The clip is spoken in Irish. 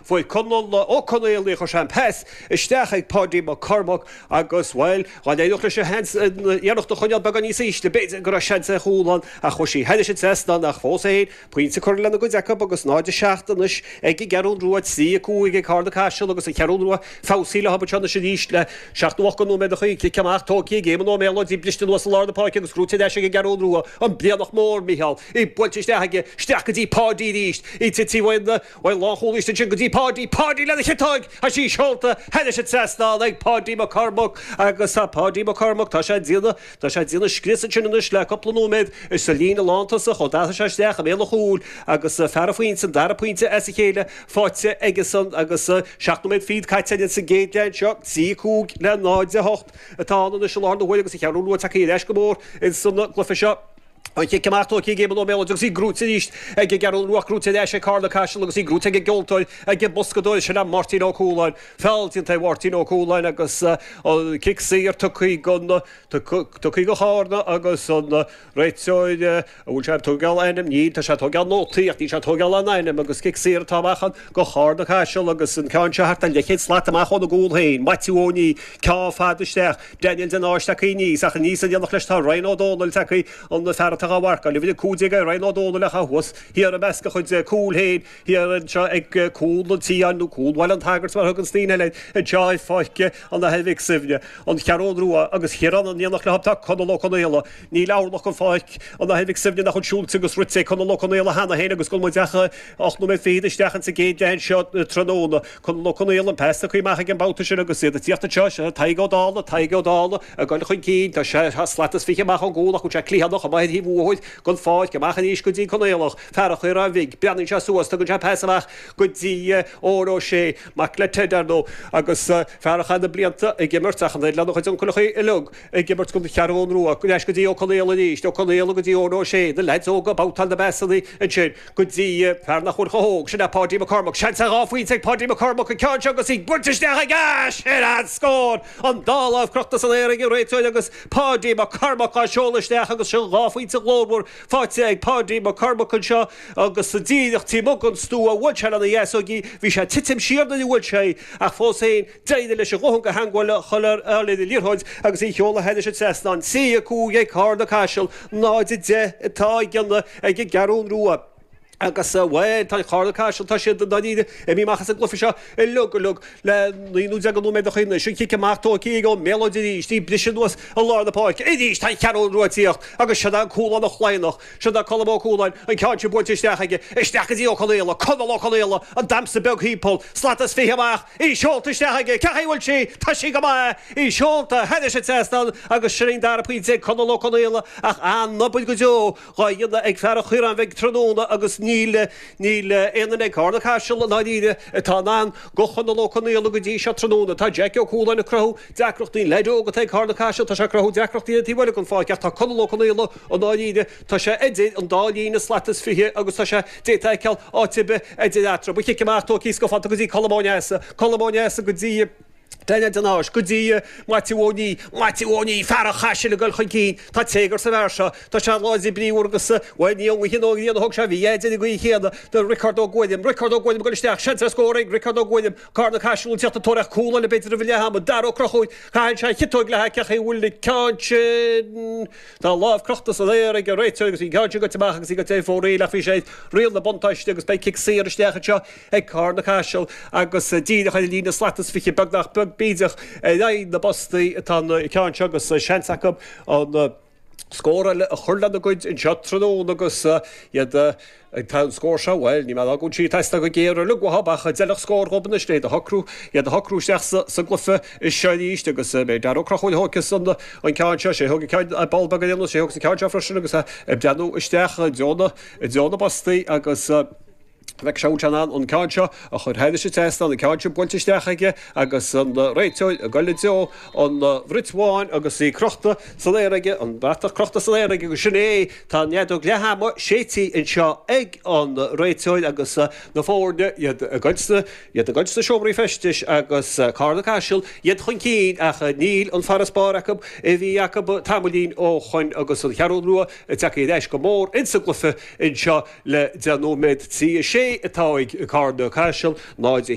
Fuair Conall Ó Conaola í, chuir sé an pas isteach ag Páidí Mac Cormaic agus, bhuel, dá n-éireodh leis an seans an iarracht a choinneáil beagán níos ísle, b'fhéidir go raibh seans ar chúl ann ach chuaigh sí thairis an trasnán ach fós féin, pointe curtha lena gcuid acu agus 0-7 anois ag an gCeathrú Rua, 3-5 ag Carna Caiseal agus an Cheathrú Rua feabhsaithe leo anseo anois arís le seacht nó ocht de nóiméadachaí. Cic amach tógtha ag Éamonn Ó Méalóid, í briste anuas i lár na páirce agus gnóite ar ais ag an gCeathrú Rua, an Brianach Mór, Micheál, í buailte isteach aige, isteach go dtí Páidí arís, í tite uaidh an lánchúlaí istigh ansin go dtí Páidí, Páidí lena chiotóig! Tá sí seolta thairis an trasnán ag Páidí Mac Cormaic agus tá Páidí Mac Cormaic, tá sé ag déanamh, tá sé ag déanamh scrios ansin anois le cúpla nóiméad sa líne lántosach ó d'athraigh sé isteach i mbéal an chúil agus fear an phointe, an dara pointe as a chéile faighte aigesan agus 7 nóiméad fichead caite againn sa gcéad leath anseo, 3 5 le 0 8 atá ann anois i láthair na huaire agus an Cheathrú Rua tagtha ar ais go mór ins an gcluiche seo. An chic amach tógtha ag Éamonn Ó Méalóid agus í gnóite arís ag an gCeathrú Rua gnóite ar ais ag Carna Caiseal agus í gnóite ag an gceoltóir, ag an mboscadóir, sin é Máirtín Ó Cualáin. Feall déanta ar Mháirtín Ó Cualáin agus an cic saor tugtha don tugtha do Charna agus an réiteoir, an bhfuil sé ag tógáil ainm? Níl, tá sé ag tógáil nótaí ach níl sé ag tógáil aon ainm agus cic saor atá amach ann do Charna Caiseal agus an ceann seo thart ar leathchéad slat amach óna gcúl féin. Maitiú Ó Ní, ceann fada isteach. Daniel de Náis tagtha aníos, ach aníos in éineacht leis tá Ryan Ó Dónaill tagtha, an fear atá dhá mharcáil. Uimhir 15 é Ryan Ó Dónaill ach thuas thiar i measc a chuid cúl féin, thiar anseo ag cúl an tSiáin nó cúl Bhaile an tSagairt mar a thugann daoine eile air, anseo i Pháirc an Athar Mhic Suibhne, an Cheathrú Rua agus thiar ann in éineacht leo tá Conall Ó Conaola. Níl orlach de Pháirc an Athar Mhic Suibhne nach bhfuil siúilte agus rite ag Conall Ó Conaola cheana féin agus go bhfuil muid ach 8 nóiméad fichead isteach insa gcéad leath anseo tráthnóna. Conall Ó Conaola, an pas tugtha amach aige an babhta sin agus iad ag tíocht anseo, seo Tadhg Ó Dálaigh, Tadhg Ó Dálaigh ag dul chun cinn, tá sé slat is fiche amach ón gcúl ach bhfuil sé cliathánach amuigh ar thaobh uathair den pháirc, amach arís go dtí an Conaolach, fear an Chaoráin Bhig, breathnaíonn sé suas, tugann sé pas amach go dtí Eoin Ó Sé, mac le Ted ar ndóigh, agus fear a chaith na blianta ag imirt ach an oiread lena chuid uncaileacha uilig. ag imirt don Cheathrú Rua, ar ais go dtí Ó Conaola arís, Ó Conaola go dtí Eoin Ó Sé, na leaids óga ag babhtáil na bpasanna ansin go dtí fear nach bhfuil chomh hóg, sin é Páidí McCormack, seans ar dhá phointe ag Páidí McCormack, an ceann seo agus í buailte isteach aige, sin an scór! An dá lámh crochta san aer ag an réiteoir agus Páidí McCormack á seoladh isteach agus sin dhá phointe ghlórmhar faighte ag Páidí McCormack anseo agus díreach taobh amuigh den stua, bhuail sé lena dheasóg í, bhí sé ag titim siar nuair a bhuail sé í ach fós féin, D'éirigh leis a dhóthain de theagmháil a chur ar an liathróid agus í a sheoladh thairis an trasnán. 3, 5 ag Carna Caiseal, 0, 10 atá ag an gCeathrú Rua. Agus, bhuel, tá Carna Caiseal, tá siad dáiríre imithe amach as an gcluiche seo uilig uilig le 19 nó nóiméad anois. An cic amach tógtha ag Ó Méalóid arís, í briseadh anuas i lár na páirce. Arís tá an Cheathrú Rua ag tíocht agus siod é an Cúlánach Laighneach. Siod é Colm Ó Cualáin, an ceann sin buailte isteach aige, isteach go dtí Ó Conaola, Conall Ó Conaola, an damhsa beag thimpeall, slat is fiche amach, í seolta isteach aige, cén chaoi a bhfuil sí, tá sí go maith, í seolta thairis an trasnán agus sin an dara pointe ag Conall Ó Conaola ach an-obair go deo dhá dhéanamh ag fear an Chaoráin Bhig tráthnóna agus níl, níl aon duine ag Carna Caiseal i ndáiríre atá in ann do Chonall Ó Conaola go dtí seo tráthnóna. Tá Jackie Ó Cualáin ag cruthú deacrachtaí, an leaid óg atá ag Carna Caiseal, tá sé ag cruthú deacrachtaí ar an taobh eile den pháirc ach tá Conall Ó Conaola I ndáiríre, tá sé idir an dá líne slat is fiche agus tá sé, d'fhéadfá a fheiceáil áit ar bith idir eatarthu. An cic amach tógtha scafánta go dtí Colm Ó Neasa, Colm Ó Neasa go dtí Daniel de Náis, go dtí Maitiú Ó Ní, Maitiú Ó Ní, fear an Chaisil ag dul chun cinn. Tá téagar sa bhfear seo. Tá sé láidir bríomhar agus, bhuel, ní ón ngaoth nó ón ngrian a thóg sé a mhí-ádh ar an gcaoi chéanna do Riocard Ó Guairim. Riocard Ó Guairim ag dul isteach, seans ar scór ag Riocard Ó Guairim. Carna Caiseal ag tíocht ag tóraíocht cúl eile b'fhéidir roimh an leath ama. Dara Ó Conchúir, caitheann sé an chiotóg le cén chaoi a bhfuil an ceann sin. Tá a lámh crochta san aer ag an réiteoir agus bhí an ceann sin goite amach agus í goite ar fóraoil ach bhí sé ar riail na buntáiste agus beidh cic saor isteach anseo ag Carna Caiseal agus díreach ar an líne slat is fiche beagnach beag bídeach ar aghaidh na bpostaí atá an ceann seo agus seans acu an scór eile a chur lena gcuid anseo tráthnóna agus iad Tá an scór seo, bhuel, níl mé ag rá go bhfuil sí ag teastáil go géar uilig uathu ach d'fheilfeadh scór dhóibh anois le iad a shocrú, iad a shocrú isteach sa gcluiche seo arís agus b'é Dara Ó Conchúir a thógfas an ceann seo, sé a thóg an ceann ar ball beag ar aon nós, sé a thógfas an ceann seo freisin agus é ag breathnú isteach i dtreo na, i dtreo na bpostaí agus bheadh sé in ann an ceann seo a chur thairis an trasnán, an ceann seo buailte isteach aige agus an réiteoir ag dul i dtreo an bhrait bháin agus í crochta san aer aige, an bratach crochta san aer aige agus sin é, tá an fheadóg leath ama séidte anseo ag an réiteoir agus na foirne, iad ag goil sna, iad ag goil sna seomraí feistis agus Carna Caiseal, iad chun cinn ach níl an farasbarr acu a bhí acu tamaillín ó shoin agus an Cheathrú Rua ag teacht ar ais go mór insa gcluiche anseo le 10 nóiméad. 3, 6 atá ag Carna Caiseal, 0.